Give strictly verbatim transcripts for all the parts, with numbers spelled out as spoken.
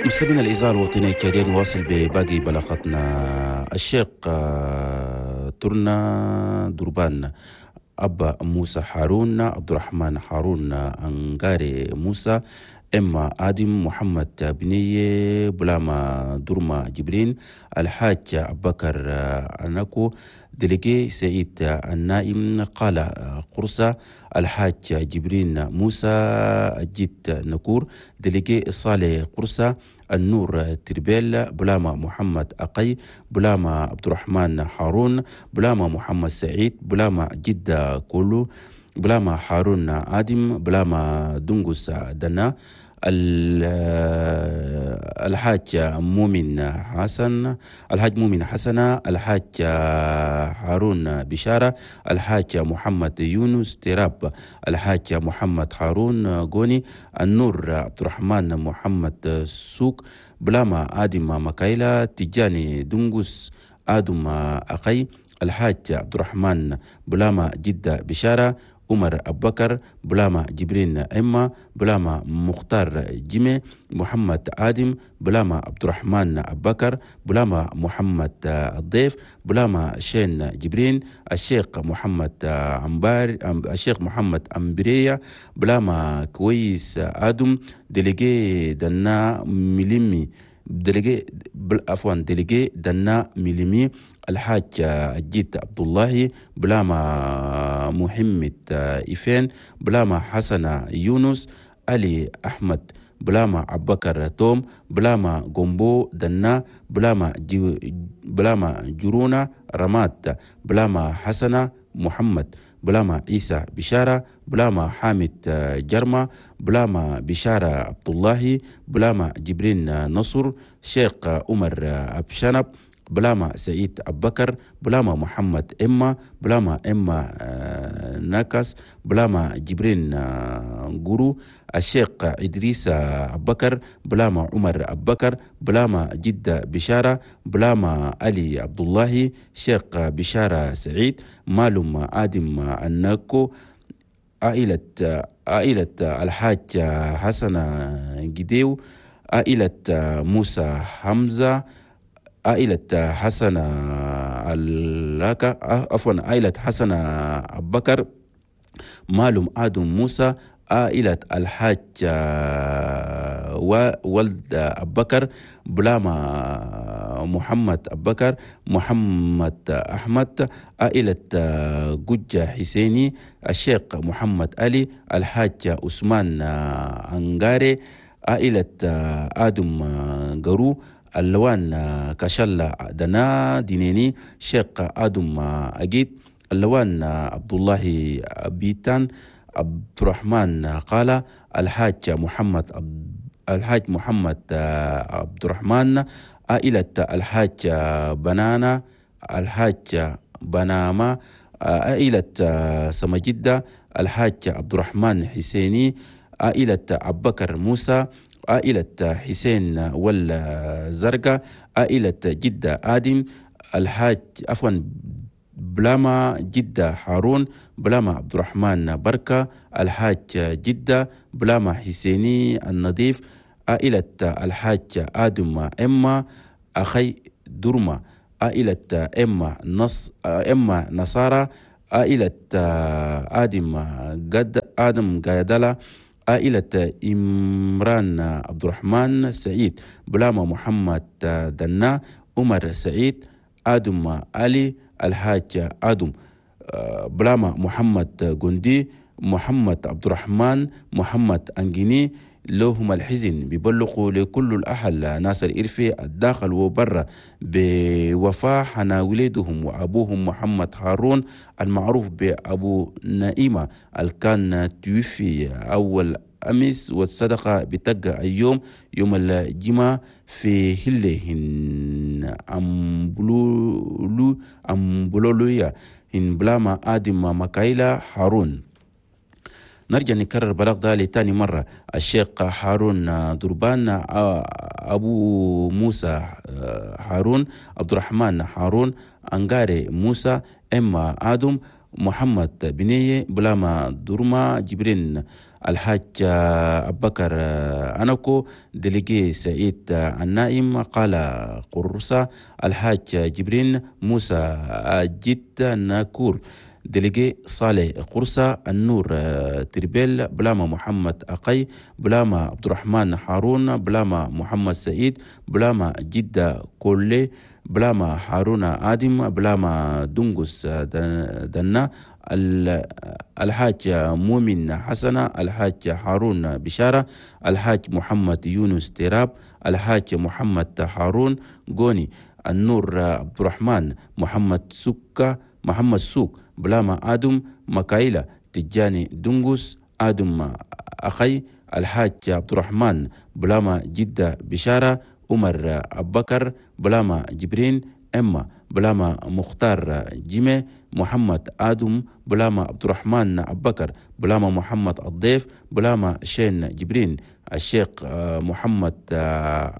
مستمعينا الإذاعة الوطنية التشادية، نواصل بباقي بلاغاتنا. الشيخ ترنا دربان، أبا موسى هارون، عبد الرحمن هارون، أنغاري موسى، إما آدم محمد بني بلاما درما جبرين، الحاج أبكر أناكو، délégué سعيد النائم قال قرصة، الحاج جبرين موسى الجيت نكور، délégué صالح قرصة، النور تربيل، بلاما محمد أقي، بلاما عبد الرحمن هارون، بلاما محمد سعيد، بلاما جدة كولو، بلاما هارون آدم، بلاما دنجوس دنا، الحاج مؤمن حسن، الحاج مؤمن حسنة، الحاج هارون بشارة، الحاج محمد يونس تراب، الحاج محمد هارون غوني، النور عبد الرحمن محمد سوق، بلاما آدم مكايلا، تجاني دنجوس آدم أخي، الحاج عبد الرحمن بلاما جدة بشارة، عمر أبكر، بلاما جبرين إما، بلاما مختار جيمي، محمد آدم، بلاما عبد الرحمن أبكر، بلاما محمد الضيف، بلاما شين جبرين، الشيخ محمد أمبار، الشيخ محمد أمبرية، بلاما كويس آدم، délégué دنا ميليمي، délégué عفوا délégué دنا ميليمي، الحاج الجيت عبد الله، بلاما محمد إيفين، بلاما حسن يونس، علي أحمد، بلاما أبكر توم، بلاما جومبو دنا، بلاما بلاما جرونا رماد، بلاما حسن محمد، بلاما عيسى بشارة، بلاما حامد جرمة، بلاما بشارة عبد الله، بلاما جبرين نصر، شيخ عمر أبشنب، بلاما سعيد أبكر، بلاما محمد إما، بلاما إما ناكس، بلاما جبرين غورو، الشيخ إدريس أبكر، بلاما عمر أبكر، بلاما جدة بشارة، بلاما علي عبد الله، شيخ بشارة سعيد، مالوم آدم الناكو، عائلة عائلة الحاج حسن جديو، عائلة موسى حمزة، عائلة حسن اللاكا عفوا عائلة حسن أبكر، مالوم آدم موسى، عائلة الحاج وولد أبكر، بلاما محمد أبكر، محمد أحمد، عائلة جوجة حسيني، الشيخ محمد علي، الحاج عثمان أنغاري، عائلة آدم غرو، اللوان كشلة دنا دينيني، شيخ آدم أجيد، اللوان عبد الله بيتان، عبد الرحمن قال، الحاج محمد الحاج محمد عبد الرحمن، عائلة الحاج بنانا، الحاج بناما، عائلة سمجدة، الحاج عبد الرحمن حسيني، عائلة أبكر موسى، عائلة حسين والزرقاء، عائلة جدة آدم، الحاج عفوا بلاما جدة هارون، بلاما عبد الرحمن بركة، الحاج جدة، بلاما حسيني النظيف، عائلة الحاج آدم إما، أخي درما، عائلة إما نص إما نصارى، عائلة آدم قد آدم قادلة، عائلة إمران عبد الرحمن سعيد، بلاما محمد دنا، عمر سعيد، آدم علي، الحاج آدم، بلاما محمد جندي، محمد عبد الرحمن، محمد أنجيني. لهم الحزن بيبلغوا لكل الأهل ناس الإرفي الداخل وبرا بوفاة حنا ولدهم وأبوهم محمد هارون المعروف بأبو نائمة الكان توفي أول أمس، والصدقة بتقع اليوم يوم الجمعة في هلهن أمبلولو أمبلولويا هن بلاما آدم مكايلا هارون. نرجع نكرر بلاغ ده لتاني مرة. الشيخ هارون دربان، أبو موسى هارون، عبد الرحمن هارون، أنغاري موسى، إما آدم، محمد بنية بلاما دورما جبرين الحاج أبكر أنكو délégué سعيد النائم قال قرصة الحاج جبرين موسى جد ناكور délégué صالح قرصة النور تربيل بلاما محمد أقي بلاما عبد الرحمن هارون بلاما محمد سعيد بلاما جدة كولي بلاما هارون آدم بلاما دنقس دنا الحاج مؤمن حسنة الحاج هارون بشارة الحاج محمد يونس تيراب الحاج محمد هارون غوني النور عبد الرحمن محمد سكة محمد سوق بلاما آدم مكايلة تجاني دنقس آدم أخي الحاج عبد الرحمن بلاما جدة بشارة عمر أبكر بلاما جبرين إما بلاما مختار جيمي محمد آدم بلاما عبد الرحمن أبكر بلاما محمد الضيف بلاما شين جبرين الشيخ محمد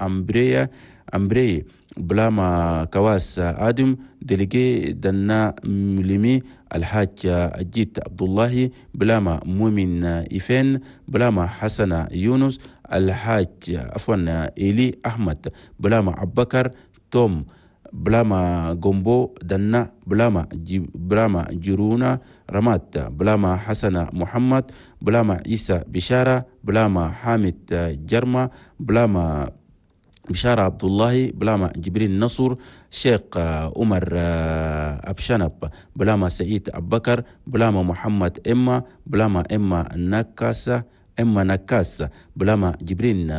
أمبرية أمبري بلاما كواس آدم délégué دنا ملمي الحاج أجيت عبد الله بلاما مؤمن إيفين بلاما حسن يونس الحاج عفوا إيلي أحمد بلاما أبكر توم بلاما جومبو دنا بلاما بلاما جيرونا رمات بلاما حسن محمد بلاما عيسى بشارة بلاما حامد جرمة بلاما بشارة عبد الله بلاما جبريل نصر شيخ عمر أبشنب بلاما سعيد أبكر بلاما محمد إما بلاما إما نكاسة إما نكاس بلاما جبرين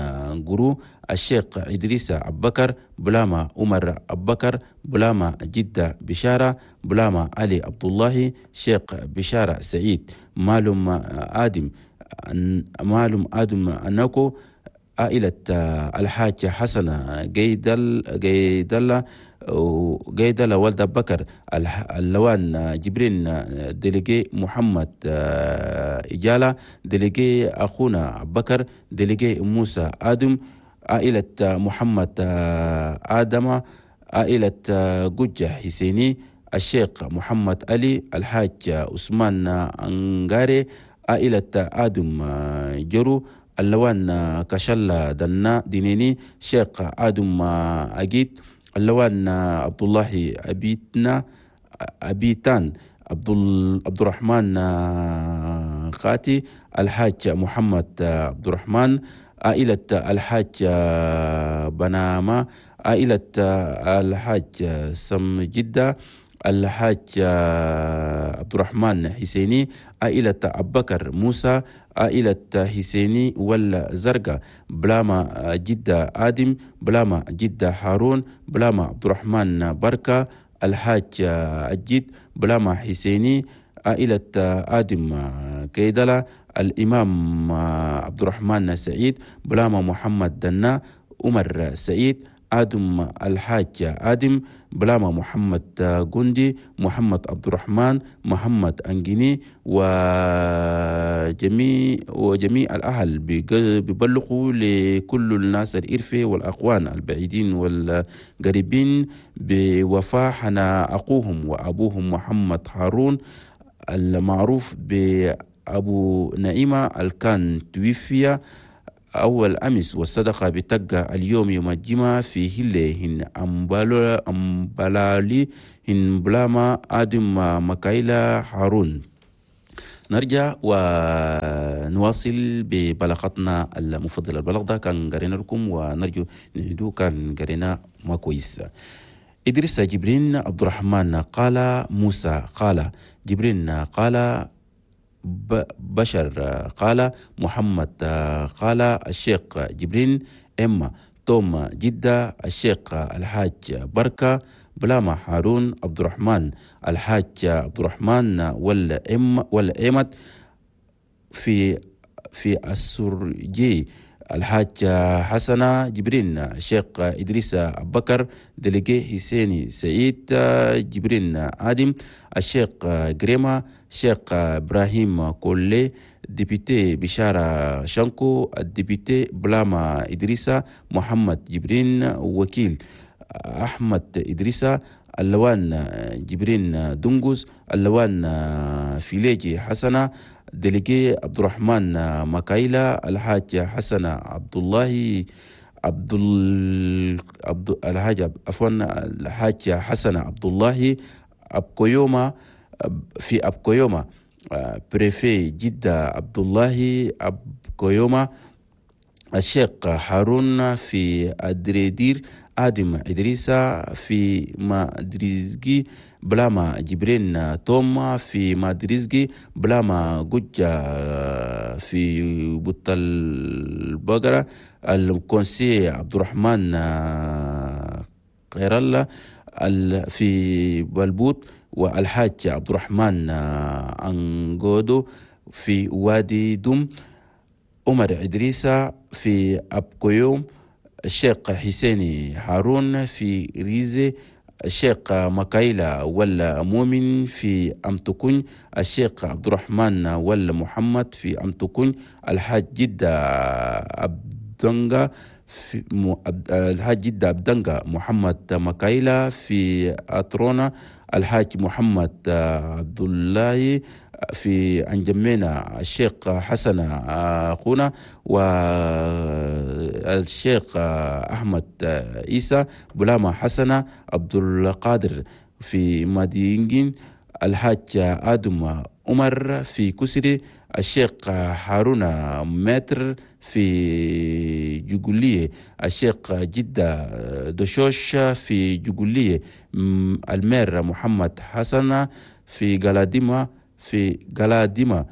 غرو الشيخ إدريس أبكر بلاما عمر أبكر بلاما جدة بشارة بلاما علي عبد الله شيخ بشارة سعيد مالوم آدم مالوم آدم أنكو عائلة الحاج حسن جيدل جيدل جيدل ولد بكر اللوان جبرين délégué محمد إجالة délégué أخونا بكر délégué موسى آدم عائلة محمد آدم عائلة جوجة حسيني الشيخ محمد علي الحاج عثمان أنغاري عائلة آدم جرو اللوان كشلا دنا دينيني شيخ آدم أجيد اللوان عبد الله أبيتنا أبيتان عبد عبد الرحمن خاتي الحاج محمد عبد الرحمن عائلة الحاج بناما عائلة الحاج سم جدة الحاج عبد الرحمن حسيني عائلة أبكر موسى عائلة حسيني والزرقاء بلاما جدة آدم بلاما جدة هارون بلاما عبد الرحمن بركة الحاج الجد بلاما حسيني عائلة آدم كيدلة الإمام عبد الرحمن سعيد بلاما محمد دنا عمر سعيد آدم الحاج آدم بلاما محمد جندي محمد عبد الرحمن محمد أنجيني وجميع وجميع الأهل بيبلغوا لكل الناس الإرفة والأقوان البعيدين والقريبين بوفاة حنا أخوهم وأبوهم محمد هارون المعروف بأبو نعيمة الكان توفي أول أمس والصدقة بتقى اليوم يوم الجمعة في هلة هن أمبالالي هن بلاما آدم مكايلا هارون. نرجع ونواصل ببلاغتنا المفضلة. البلاغ ده كان قرينا لكم ونرجو نعيدو كان قرينا ما كويس. إدريس جبرين عبد الرحمن قال موسى قال جبرين قال بشر قال محمد قال الشيخ جبرين إما توم جدة الشيخ الحاج بركة بلاما هارون عبد الرحمن الحاج عبد الرحمن والإم والإمت في في السرجي الحاج حسنة جبرين الشيخ إدريس أبكر délégué حسيني سعيد جبرين آدم الشيخ جريما شيخ إبراهيم كولي député بشارة شانكو ال député بلاما إدريسا محمد جبرين وكيل أحمد إدريسة، اللوان جبرين دنجوز، اللوان فيليجي حسنة، délégué عبد الرحمن مكايلا، الحاج حسن عبد الله عبد عبد الحاج عفوا الحاج حسن عبد الله أبكويوما في أبكويوما، préfet جدة عبد الله أبكويوما، الشيخ هارون في أدريدير، آدم إدريسا في مادريزجي، بلاما جبرين توما في مادريزجي، بلاما جوجا في بطل البقرة، ال conseiller عبد الرحمن خير الله في بلبوت، والحاج عبد الرحمن أنجودو في وادي دوم، عمر إدريسا في أبكويوم، الشيخ حسيني هارون في ريزي، الشيخ مكايلا ولا مؤمن في أمتكون، الشيخ عبد الرحمن ولا محمد في أمتكون، الحاج جدة أبدنغا في م... الحاج جدة أبدنغا محمد مكايلا في أترونا، الحاج محمد عبد الله في أنجمينا، الشيخ حسن أخونا، والشيخ أحمد عيسى بلاما حسن عبد القادر في مدينجين، الحاج آدم عمر في كسري، الشيخ هارون متر في جوجولية، الشيخ جدة دشوش في جوجولية، المير محمد حسن في قلاديما في قلاديما،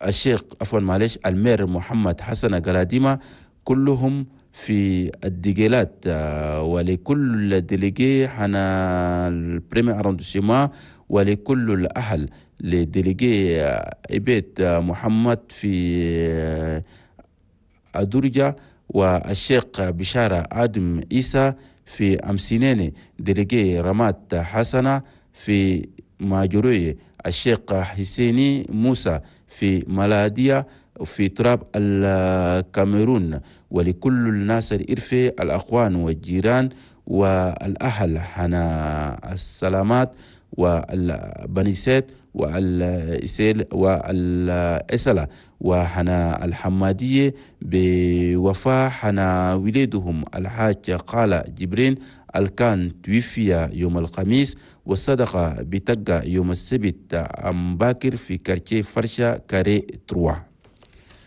الشيخ عفوا معلش المير محمد حسن قلاديما، كلهم في الديجيلات. ولكل délégué حنا ال premier arrondissement، ولكل الأهل ل délégué عبيد محمد في أدرجة، والشيخ بشارة آدم عيسى في أمسينيني، délégué رمات حسنة في ماجروي، الشيخ حسيني موسى في ملادية في تراب الكاميرون. ولكل الناس الإرفي الأخوان والجيران والأهل حنا السلامات والبنيسات والإسيل والإسلة وحنا الحمادية بوفاء حنا وليدهم الحاج قال جبرين الكان توفي يوم الخميس والصدقة بتقى يوم السبت أم باكر في quartier فرشة carré trois.